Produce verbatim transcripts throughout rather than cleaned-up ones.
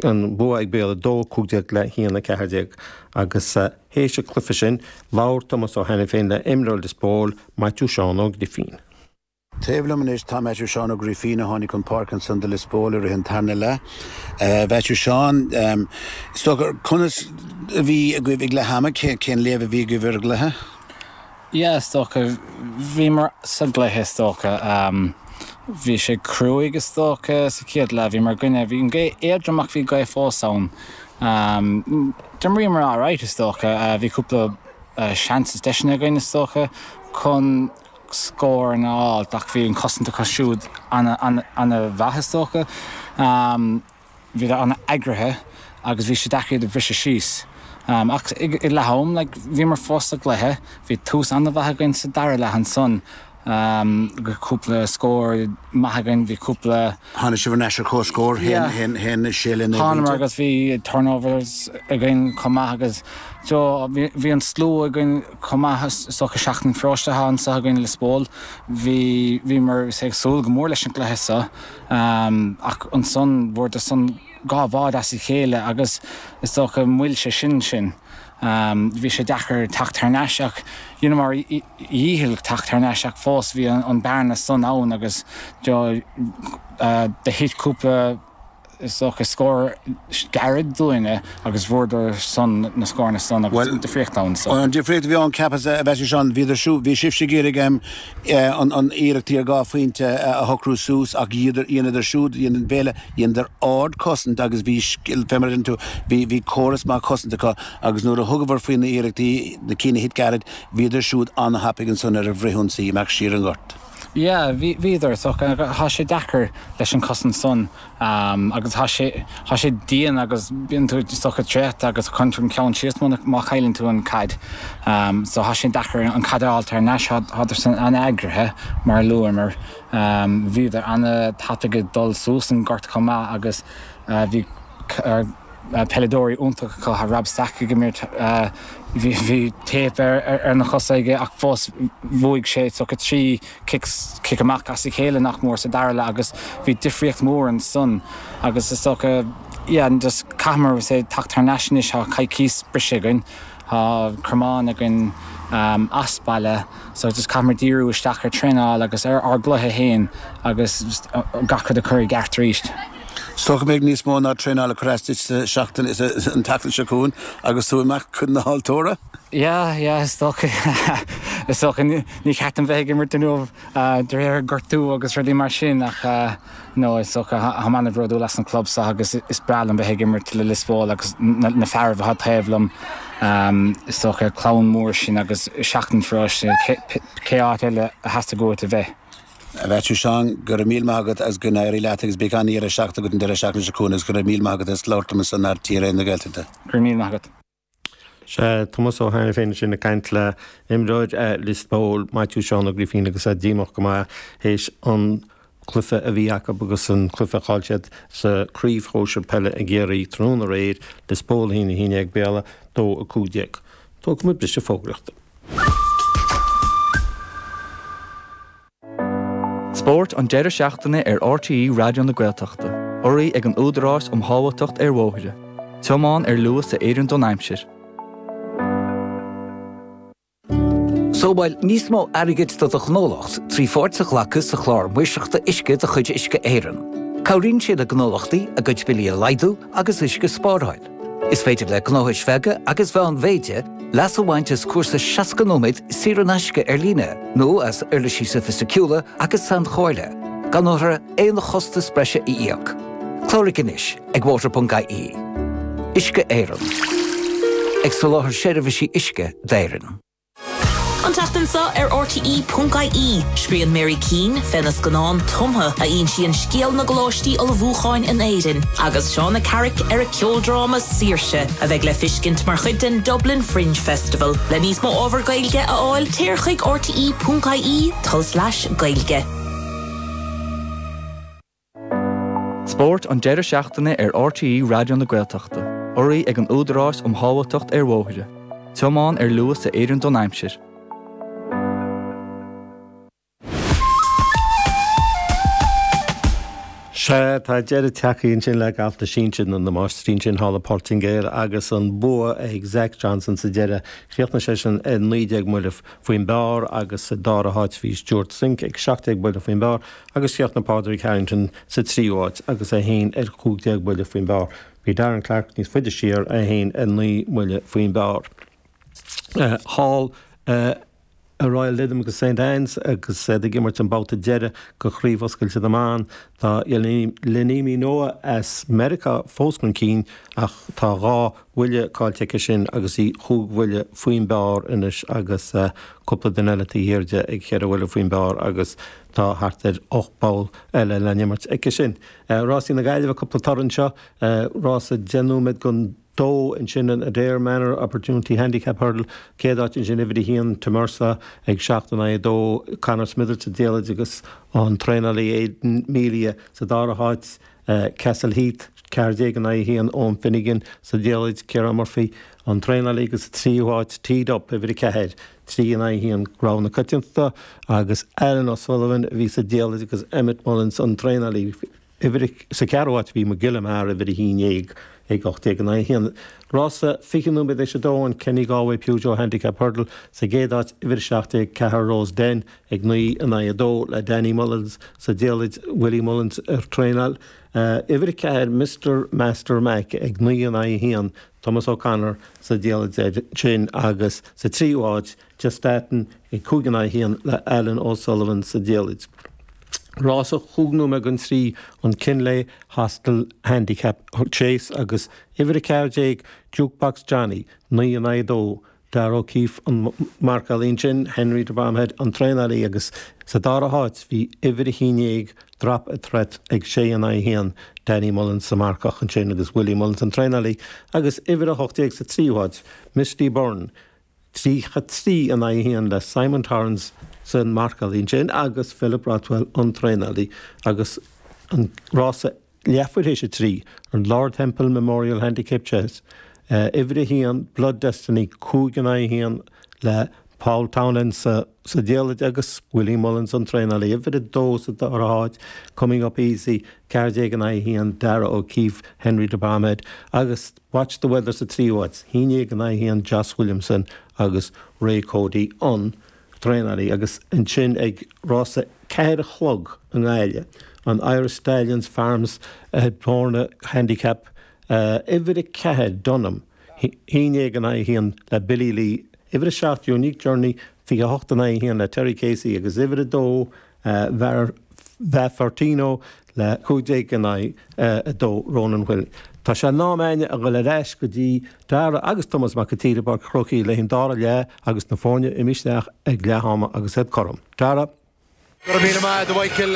an bua ag Béal a dó cúig déag le haon a ceathair déag agus théis an chluiche sin labhair Tomás Ó hAiniféin le imreoir Liospóil Maitiú Seán Ó Grifín. Taobh liom anois tá Maitiú Seán Ó Grifín a tháinig chun páirce ansan do Liospóil i rith an tarna leath. Maitiú Seán is dócha conas a bhí agaibh ag leath ama cén léamh a bhí agaibh ar an gcluiche? Yeah, is dócha bhíomar sa gcluiche is dócha bhí sé cruaidh is dócha sa chéad leath bhí mar gcoinne bhí an gaoth éadrom ach bhí gaoth fós ann. Um, D'imríomar alright is dócha bhí cúpla seans is deiseanna againn is dócha chun scór a fháil ach bhí an cosaint acu siúd an-mhaith is dócha. Um, bhí an-eagraithe agus bhí sé deacair iad a bhriseadh síos. Um, ach ag leath am like, bhíomar fós sa gcluiche, bhí tús an-mhaith againn sa dara leath ansan. Um, go cúpla scór maith againn bhí cúpla Tháinig sibh ar ais ar comhscór haon haon sé le Thánamar agus bhí turnovers againn chomh maith agus bhí an slua againn chomh maith is dócha seachtain pharóiste anseo againn Liospóil bhí bhíomar ag súil go mór leis an gcluiche seo um, ach ansan bhfuaireadar san dhá bhád as a chéile agus is dócha mhoill sé sin sin. Um, bhí sé deacair teacht thar n-ais ach mar dhícheall teacht thar n-ais ach fós bhí an, an bearna san ann agus do thit cúpla is dócha scór gairid dúinne agus bhfuaireadar san na scóranna san agus difríocht ann so. An difríocht a bhí ann ceapas a bheith sean bhí bhí sibhse ag iarraidh an an iarrachtaí ar dhá phointe a shocrú suas ach dheineadar siúd dhein Béal dheineadar ardchosaint agus bhí fé mar tú bhí bhí córas maith cosanta acu agus nuair a thugabhar faoi na iarrachtaí na cinn a thit gairid bhíodar siúd an-thapaidh ansan ar an bhfrithionsaí amach siar an gort. Yeah, bhíodar so tá sé deacair leis an cosaint san um, agus tá sé tá sé dian agus bíonn tú socha tréta agus chun an ceann síos má chailleann tú an caid. Um, so tá sé deacair an caid a fháil thar n-ais thádar san an-eagraithe mar luamar um, bhíodar an-tapaidh ag dul suas an gort chomh maith agus uh, bhí uh, peileadóirí iontach acu Rob Stack ag imirt bhí bhí tape ar ar na cosa aige ach fós bhuaigh sé so trí kick amach as a chéile nach mór sa dara leath agus bhí difríocht mór ansan agus is dócha yeah, just caithfimid sé teacht thar n-ais anois tá coicís briseadh againn Tá Cromán againn um, as baile, so just caithfimid díriú isteach ar traenáil agus ar ár gcluiche féin agus gach rud a chur i gceart arís. So go mbeidh níos mó ná traenáil chreasta seachtain is an tseachtain seo chugainn agus tú amach chun na haltóra? Yeah, yeah, is dócha is dócha ní cheapaim bheith ag imirt inniu de réir gortú agus rudaí mar sin ach no is dócha táim an-bhródúil as an club seo agus is breá liom bheith ag imirt le Liospóil agus na fear atá taobh liom is dócha clann mór sin agus seachtain pharóiste cé áit eile a theastaigh uait a bheith. A Mhaitiú Seán go raibh míle maith agat as go n-éirí leat agus beidh an-deireadh seachtaine agat an deireadh seachtaine seo chugainn agus go raibh míle maith agat as labhairt liom san RTÉ Raidió na Gaeltachta. Go raibh míle maith agat. Sé Tomás Ó Hainiféin sin ag caint le imreoir Liospóil Maitiú Seán Ó Grifín agus é díomách go maith théis an cluiche a bhí acu agus an cluiche a chaill siad sa chraobh shóisir peile i gCiarraí tráthnóna aréir Liospóil a haon a haon déag Béal dó a cúig déag. Tógfaimid briseadh fógraíochta. Spórt an deireadh seachtaine ar RTÉ Raidió na Gaeltachta, urraithe ag an Údarás um Shábháilteacht ar Bhóithre. Tiomáin ar luas a oireann don aimsir. Sábháil níos mó airgid do do ghnólacht trí pháirt a ghlacadh sa chlár maoirseachta uisce de chuid Uisce Éireann. Cabhraíonn sé le gnólachtaí a gcuid billí a laghdú agus uisce a spáráil. Is féidir le gnóthais bheaga agus mheánmhéide leas a bhaint as cúrsa seasca nóiméad saor in aisce ar líne nó as uirlisí sofaisticiúla agus sainchomhairle, gan orthu aon chostas breise a íoc. Cláraigh anois ag water.ie. Uisce Éireann. Ag soláthar seirbhísí uisce d'Éirinn. An tseachtain seo ar RTE.ie, scríobhann Mary Keane fé na scannáin tumtha a insíonn scéal na gcoláistí ullmhúcháin in Éirinn, agus Shauna Carrick ar a ceoldráma Saoirse a bheidh le feiscint mar chuid den Dublin Fringe Festival. Le níos mó ábhar Gaeilge a fháil téir chuig RTE.ie tulslais Gaeilge. Spórt an deireadh seachtaine ar RTÉ Raidió na Gaeltachta, urraithe ag an Údarás um Shábháilteacht ar Bhóithre. Tiomáin ar luas a oireann don aimsir. Sea, tá deireadh tagtha ansin le galf na sinsear nó na máistrí ansin thall i bPortaingéil agus an bua ag Zach Johnson sa deireadh. Chríochnaigh seisean ar naoi déag mbuille faoin bpar agus sa dara háit bhí Stewart Cink ag seacht déag buille faoin bpar agus chríochnaigh Pádraig Harrington sa tríú háit agus é féin ar cúig déag buille faoin bpar. Bhí Darren Clarke níos faide siar, é féin ar naoi mbuille faoin bpar. Thall i Royal Lytham agus Saint Anne's agus iad ag imirt an babhta deiridh de Chraobh Oscailte na mBan. Tá Yealimi Noh as Meiriceá fós chun cinn ach tá dhá bhuille caillte aici sin agus í chúig bhuille faoin bpar anois agus cúpla duine eile taobh thiar di ag ceithre bhuille faoin bpar agus tá thart ar ocht bpoll eile le n-imirt aici sin. Rásaí na Gaillimhe, cúpla toradh anseo, rása deich nóiméad don dó ansin an Adare Manor Opportunity Handicap Hurdle, céad áit ansin uimhir a haon Tamersa ag seacht in aghaidh a dó, Conor Smithers sa diallait agus an traenálaí Aidan Melia sa dara háit, Castle Heath, ceathair déag in aghaidh a haon, Owen Finnegan sa diallait, Ciarán Murphy an traenálaí agus sa tríú háit Teed Up uimhir a ceathair, trí in aghaidh a haon, rogha na coitiantachta agus Alan O'Sullivan a bhí sa diallait agus Emmet Mullins an traenálaí. Uimhir sa cheathrú háit bhí McGill Mar uimhir a haon déag ag ocht déag in aghaidh a haon. Rása fiche nóiméad théis a dó an Kenny Galway Peugeot Handicap Hurdle sa gcéad áit uimhir a seacht déag ceathair Rose Den ag naoi in aghaidh a dó le Danny Mullins sa diallait, Willie Mullins ar traenáil. Uimhir a ceathair Mister Master Mac ag naoi in aghaidh a haon, Thomas O'Connor sa diallait air sin agus sa tríú háit Justatin ag cúig in aghaidh a haon le Alan O'Sullivan sa diallait. Rása chúig nóiméad don trí, an Kinlay Hostel Handicap Chase agus uimhir a ceathair déag Jukebox Johnny, naoi in aghaidh a dó, Darragh O'Keeffe an marcálaí ansin, Henry de Bromhead an traenálaí agus sa dara háit bhí uimhir a haon déag Drop a Threat ag sé in aghaidh a haon, Danny Mullins sa marcach ansin agus Willie Mullins an traenálaí agus uimhir a hocht déag sa tríú háit Misty Byrne, tríocha trí in aghaidh a haon le Simon Torrance san marcálaí ansin agus Philip Rothwell an traenálaí agus an rása leathuair théis a trí, an Lord Temple Memorial Handicap Chase, uimhir a haon Blood Destiny cúig in aghaidh a haon le Paul Townend sa sa diallait agus Willie Mullins an traenálaí. Uimhir a dó sa dara háit Coming Up Easy ceathair déag in aghaidh a haon Darragh O'Keeffe, Henry de Bromhead agus Watch the Weather sa tríú háit, haon déag in aghaidh a haon Joss Williamson agus Ray Cody an traenálaí agus ansin ag rása ceathair a chlog i nGaillimh, an Irish Stallions Farms Bourne Handicap, uimhir a ceathair Dunham, haon déag in aghaidh a haon le Billy Lee, uimhir a seacht Unique Journey, fiche a hocht in aghaidh a haon le Terry Casey agus uimhir a dó Vafortino le cúig déag in aghaidh a dó Ronan Whelan. Tá sé in am againne a dhul ar ais go dtí Dara agus Tomás Mac an tSaoir i bPáirc an Chrócaigh le haghaidh an dara leath agus na foirne imithe isteach ag leath ama agus iad cothrom. Dara. Go raibh míle maith agat a Mhichael.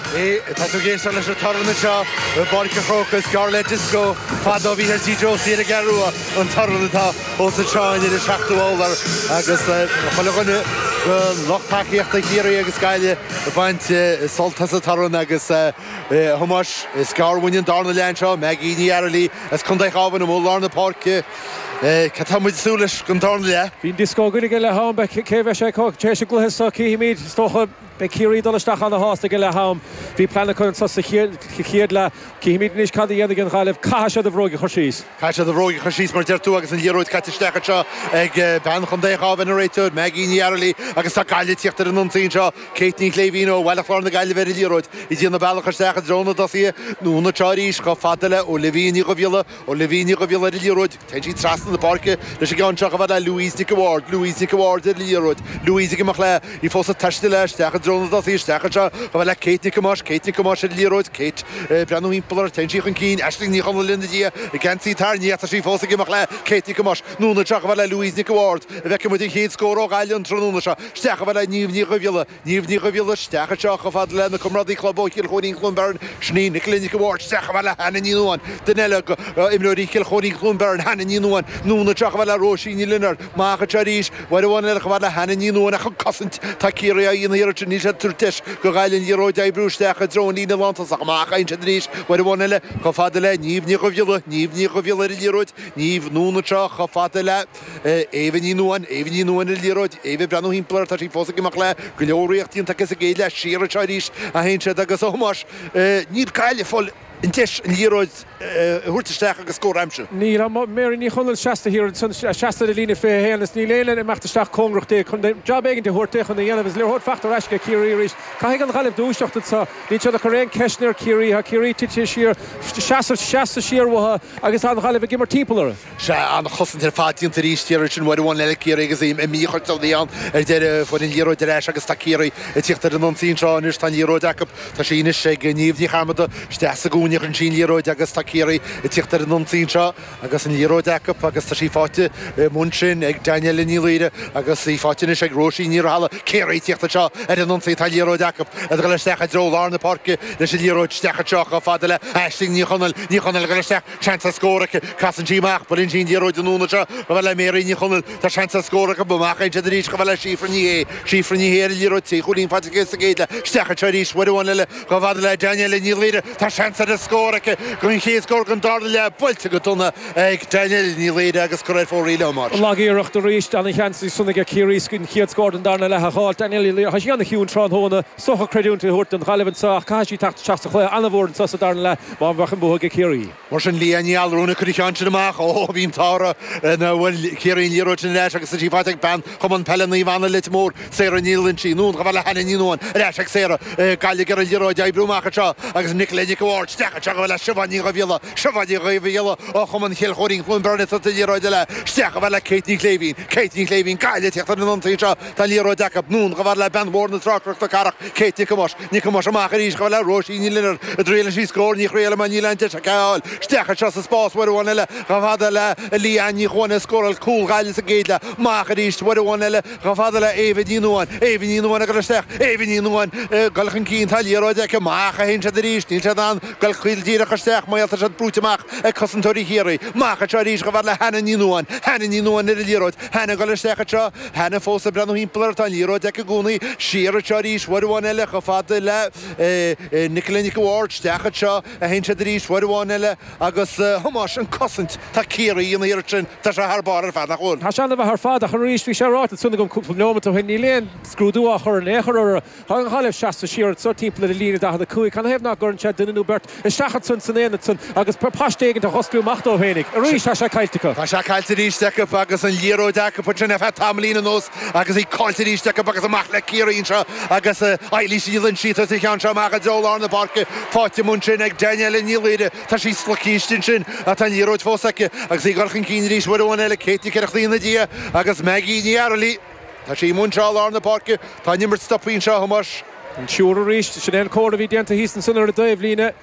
Tá tú ag éisteacht leis an torann anseo i bPáirc an Chrócaigh. Is gearr le disco fadó a bhí ar Tí Josie ar an gCeathrú Rua an torann atá os anseo in ar an seachtú urlár agus chuile dhuine de lucht tacaíochta Chiarraí agus Gaillimh ag baint sult as an torann agus a Thomáis, is gearr uainn an darna leath anseo, Maggie Ní Fhearghailí as Contae an Chabháin amuigh i lár na páirce. Cad tá muid ag súil leis don darna leath? Bhí an dioscó againn ag leath am, cé bheidh sé acu tar éis an gcluiche seo, cífimid, is dócha. Beidh Ciarraí ag dul isteach ana-shásta ag leath am. Bhí plean acu anso sa chéad leath. Cífimid anois cad a dhéanfaidh an Ghaillimh. Caithfidh siad a bhróig a chur síos. Caithfidh siad a bhróig a chur síos mar a deir tú agus an liathróid caite isteach anseo ag bean Chontae an Chabháin, an réiteoir, Maggie Ní Fhearghailí agus tá Gaillimh ag tíocht ar an ionsaí anseo. Kate Ní Shléibhín ó Bhaile Chláir na Gaillimhe ar an liathróid. Í ag déanamh bealach isteach i dtreo na dtosaithe. Anonn anseo arís chomh fada le Olivia Ní Dhubhghiolla. Olivia Ní Dhubhghiolla ar an liathróid. Téann sí trasna na páirce leis an gceann seo chomh fada le Louise Nic a' Bhaird. Louise Nic a' Bhaird ar an liathróid. Louise ag imeacht léi. Í fós ag taisteal léi isteach i dtreo na dtosaithe. Isteach anseo chomh fada le Kate Nic Thomáis. Kate Nic Thomáis ar an liathróid. Kate ag breathnú thimpeall uirthi. Téann sí chun cinn. Aisling Ní Chonaill ina diaidh. An geansaí tarraingthe ach tá sí fós ag imeacht léi. Kate Nic Thomáis. Anonn anseo chomh fada le Louise Nic a' Bhaird. An bhfeicfidh muid an chéad scór ó Ghaillimh an tráthnóna seo. Isteach chomh fada le Niamh Ní Dhubhghiolla. Niamh Ní Dhubhghiolla isteach anseo chomh fada lena comrádaí club ó Chill Chóirín Cluain Bheirn, sin í Nicola Nic a' Bhaird, isteach chomh fada le Hannah Ní Nuadháin, duine eile d'imreoirí Chill Chóirín Cluain Bheirn, Hannah Ní Nuadháin, anonn anseo chomh fada le Róisín Ní Lionáird, amach anseo arís, uair amháin eile chomh fada le Hannah Ní Nuadháin ach an cosaint tá Ciarraí á dhéanamh thiar ansin, Níl siad ag tabhairt deis do Ghaillimh an liathróid a oibriú isteach i dtreo an líne lántosach. Amach a théann siad arís uair amháin eile chomh fada le Niamh Ní Dhubhghiolla. Niamh Ní Dhubhghiolla ar an liathróid. Niamh anonn anseo chomh fada le Éabha Ní Nuadháin. Éabha Ní Nuadháin ar an liathróid. Éabha ag breathnú thimpeall uirthi. Tá sí fós ag imeacht léi. Go leor iarracht déanta aici sa gcéad leath. Siar anseo arís a théann siad agus a Thomáis, níl Gaillimh ag fáil an deis an liathróid a thabhairt isteach agus scór a aimsiú. Níl, tá Mary Ní Chonaill seasta thiar ansan, seasta ar an líne fiche a haon is níl éinne ag imeacht isteach cóngarach di chun jab éigin a thabhairt di chun a dhéanamh is liathróid faighte ar ais ag Ciarraí arís. Caithfidh an Ghaillimh dúiseacht anseo. Níl siad ag cur aon ceisteanna ar Chiarraí. Tá Ciarraí tite siar, seasamh, seasta siar uathu agus tá an Ghaillimh ag imirt timpeall orthu. Sea, an-chosaint ar fad déanta arís thiar ansin uair amháin eile Ciarraí agus mícheart a bhí ann ar deireadh. Fuair an liathróid ar ais agus tá Ciarraí ag tíocht ar an ionsaí anseo anois. Tá an liathróid acu. Tá sí anois ag Niamh Ní Chearmada isteach sa gcúinne a chuireann sí an liathróid agus tá Ciarraí ag tíocht ar an ionsaí anseo agus an liathróid acu agus tá sí faighte amuigh ansin ag Danielle Ní Laoire agus í faighte anois ag Róisín Ní Rathaille. Ciarraí ag tíocht anseo ar an ionsaí, tá an liathróid acu ag dul isteach i dtreo lár na páirce leis an liathróid isteach anseo chomh fada le Aisling Ní Chonaill. Ní Chonaill ag dul isteach, seans ar scór aici, casann sí amach, buaileann sí an liathróid anonn anseo chomh fada le Mary Ní Chonaill, tá seans ar scór acu, amach a théann siad arís chomh fada le Síofra Ní Shé. Síofra Ní Shé ar an liathróid, trí chúilín faighte aici sa gcéad leath, isteach anseo arís uair amháin eile chomh fada le Danielle Ní Laoire. Tá seans ar an scór aici don chéad scór den darna leath, buailte go dona ag Danielle Ní Laoire agus curtha ar fóraoil a Thomáis. Lag-iarracht arís, ana-sheans ansan aige Ciarraí an chéad scór den darna leath a dh'fháil. Danielle Ní Laoire, tá sí ana-chiúin tráthnóna, is dócha creidiúint a thabhairt don Ghaillimh anseo ach caithfidh sí teacht isteach sa chluiche ana-mhór anseo sa darna leath má bheadh an bua aige Ciarraí. Mar sin Leah Ní Allmhúin ag cur an cheann sin amach, ó bhí an t-ádh uirthi nár bhuail Ciarraí an liathróid sin ar ais agus tá sí faighte ag bean Chumann Peile Naomh Anna Leitir Móir, Sarah Ní Loinsigh, anonn chomh fada le Hannah Ní Nuadháin, ar ais ag Sarah, Gaillimh ag iarraidh an liathróid a oibriú amach anseo agus Nicola Nic a' Bhaird isteach anseo chomh fada le Siobhán Ní Dhubhghiolla, Siobhán Ní Dhubhghiolla ó Chumann Chill Chóirín Cluain Bheirn ag tabhairt an liathróid eile isteach chomh fada le Kate Ní Chléibhín, Kate Ní Chléibhín, Gaillimh ag tíocht ar an ionsaí anseo, tá an liathróid acu, anonn chomh fada le bean mhór na tráchtaireachta cathrach, Kate Nic Thomáis, Nic Thomáis amach arís chomh fada le Róisín Ní Lionáird, an dtriaileann sí scór, ní thriaileann mar níl aon deis aici é a fháil, isteach anseo sa spás uair amháin eile chomh fada le Leanne Ní Chuana a scóráil cúl Ghaillimh sa gcéad leath, amach arís uair amháin eile chomh fada le Éabha Ní Nuadháin, Éabha Ní Nuadháin ag dul isteach, Éabha Ní Nuadháin ag dul chun cinn, tá an liathróid aici, amach a théann siad arís, níl siad in ann dul caol díreach isteach mar tá siad brúite amach ag cosantóirí Chiarraí. Amach anseo arís chomh fada le Hannah Ní Nuadháin, Hannah Ní Nuadháin ar an liathróid, Hannah ag dul isteach anseo, Hannah fós ag breathnú thimpeall uirthi, tá an liathróid aici i gcónaí, siar anseo arís uair amháin eile chomh fada le Nicola Nic a' Bhaird, isteach anseo a théann siad arís uair amháin eile agus a Thomáis, an cosaint, tá Ciarraí ina iarracht sin, tá sé thar barr ar fad, nach bhfuil? Tá sé ana-mhaith ar fad ach arís, bhí sé ráite ansan agam cúpla neomat ó shin, níl aon scrúdú á chur in aon chor orthu. Tá an Ghaillimh seasta siar anso timpeall ar an líne daichead a cúig, canathaobh nach gcuireann siad duine nó beirt isteach ansan san aonad san agus paiste éigin a dh'osclú amach dóibh fhéinig. Arís tá sé caillte acu. Tá sé caillte arís acu agus an liathróid acu ansin ar feadh tamaillín anuas agus í caillte arís acu agus amach le Ciarraí anseo agus Eilís Ní Loinsigh ag tabhairt an cheann seo amach i dtreo lár na páirce. Faighte amuigh ansin ag Danielle Ní Laoire. Tá sí slogtha istigh ansin ach tá an liathróid fós aici agus í ag dul chun cinn arís uair amháin eile. Kate Nic Oireachtaigh ina diaidh agus Maggie Ní Fhearghaile. Tá sí amuigh anseo i lár na páirce. Tá an imirt stoptha anseo, a Thomáis. An triúr arís. Sin é an comhartha a bhí déanta thíos ansan ar an dtaobhlíne.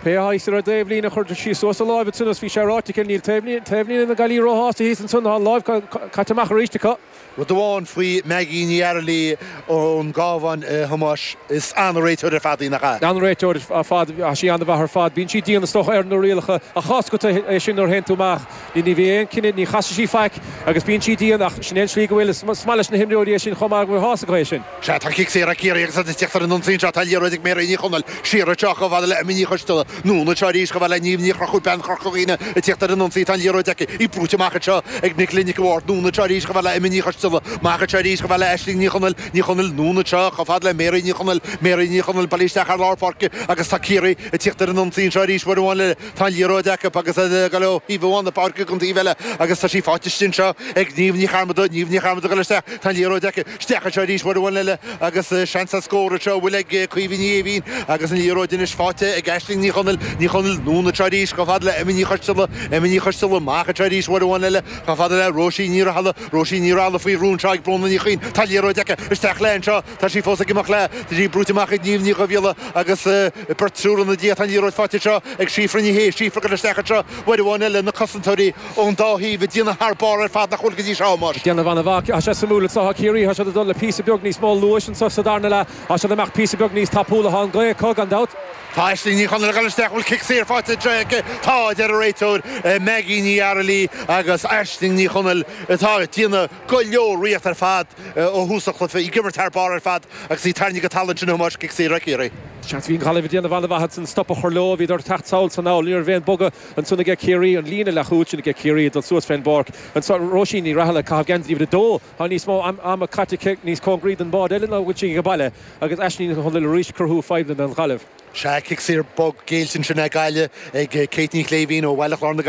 Pé atá thíos ar an dtaobhlíne, chuir sí suas a láimh ansan agus bhí sé ráite aici, níl taobhlíne na Gaillimhe róshásta thíos ansan, tá an láimh caite amach arís acu. Rud amháin faoi Maggie Ní Fhearghaile ón gCabhán, a Thomáis, is an-réiteoir ar fad í, nach ea? An-réiteoir ar fad, tá sí an-mhaith ar fad. Bíonn sí dian is dócha ar na rialacha ach tá a fhios agat é sin nuair a théann tú amach. Ní bhíonn aon cinneadh, ní chasfaidh sí faic agus bíonn sí dian ach sin é an tslí go bhfuil. Is maith leis na himreoirí é sin chomh maith go bhfuil tá a fhios acu é sin. Sea, tá cic saor ag Ciarraí agus iad ag tíocht ar an ionsaí anseo. Tá an liathróid ag Mary Ní Chonaill. Siar anseo chomh fada le Emma Ní Choisteala. Anonn anseo arís chomh fada le Niamh Ní Chonchúir, bean Chorca Dhuibhne ag tíocht ar an ionsaí. Tá an liathróid aici. Í brúite amach anseo ag Nicola Nic a' Bhaird. Anonn anseo arís chomh fada le Emma Ní Choisteala. Amach anseo arís chomh fada le Aisling Ní Chonaill. Ní Chonaill. Anonn anseo chomh fada le Mary Ní Chonaill. Mary Ní Chonaill bailithe isteach ar lár páirce agus tá Ciarraí ag tíocht ar an ionsaí anseo arís uair amháin eile. Tá an liathróid acu agus ag dul ó thaobh amháin na páirce go an taobh eile agus tá sí faighte istigh anseo ag Niamh Ní Chearmada. Niamh Ní Chearmada ag dul isteach. Tá an liathróid aici. Isteach anseo arís uair amháin eile agus seans ar scór anseo a bhfuil ag Caoimhe Ní Éimhín agus an liathróid anois faighte ag Aisling Ní Chonaill. Ní Chonaill anonn anseo arís chomh fada le Emma Ní Choisteala. Emma Ní Choisteala amach anseo arís uair amháin eile chomh fada le Róisín Ní Rathaille. Róisín Ní Rathaille faoi bhrú anseo ag Bróna Ní Chuinn. Tá an liathróid aici. Isteach léi anseo. Tá sí fós ag imeacht léi. Tá sí brúite amach ag Niamh Ní Dhubhghiolla agus beirt triúr ina diaidh. Tá an liathróid faighte anseo ag Síofra Ní Shé. Síofra ag dul isteach anseo uair amháin eile. Na cosantóirí ón dá thaobh ag déanamh thar barr ar fad nach bhfuil go dtí seo, a Thomáis. Ag déanamh an-mhaith. Tá sé suimiúil anseo. Tá Ciarraí, tá siad ag dul le píosa beag níos mó luais anseo sa darna leath. Tá siad ag imeacht píosa beag níos tapúla. Tá an ghaoth acu, gan dabht. Tá Aisling Ní Chonaill ag dul isteach, bhfuil cic saor faighte anseo aici? Tá, a deir an réiteoir Maggie Ní Fhearghailí agus Aisling Ní Chonaill atá ag déanamh go leor ríocht ar fad ó thús an chluiche, í ag imirt thar barr ar fad agus í tarraingthe go talamh ansin a Thomáis, cic saor ag Ciarraí. Seans, bhí an Ghaillimh ag déanamh an-mhaith ansan stop a chur leo, bhíodar ag teacht sall is anall, ní raibh aon bogadh ansan aige Ciarraí, an líne leathchúil sin aige Ciarraí ag dul suas fén bpáirc anso, Róisín Ní Rathaille ag caitheamh geansaí uimhir a dó, tá níos mó ama caite aici níos cóngaraí don bhád eile ná a bhfuil sí ag baile agus Aisling Ní Chonaill arís ag cruthú fadhbanna don Ghaillimh. Sea, cic saor bog géillte ansin ag Gaillimh ag Kate Ní Chléibhín ó Bhaile Chláir na Gaillimhe.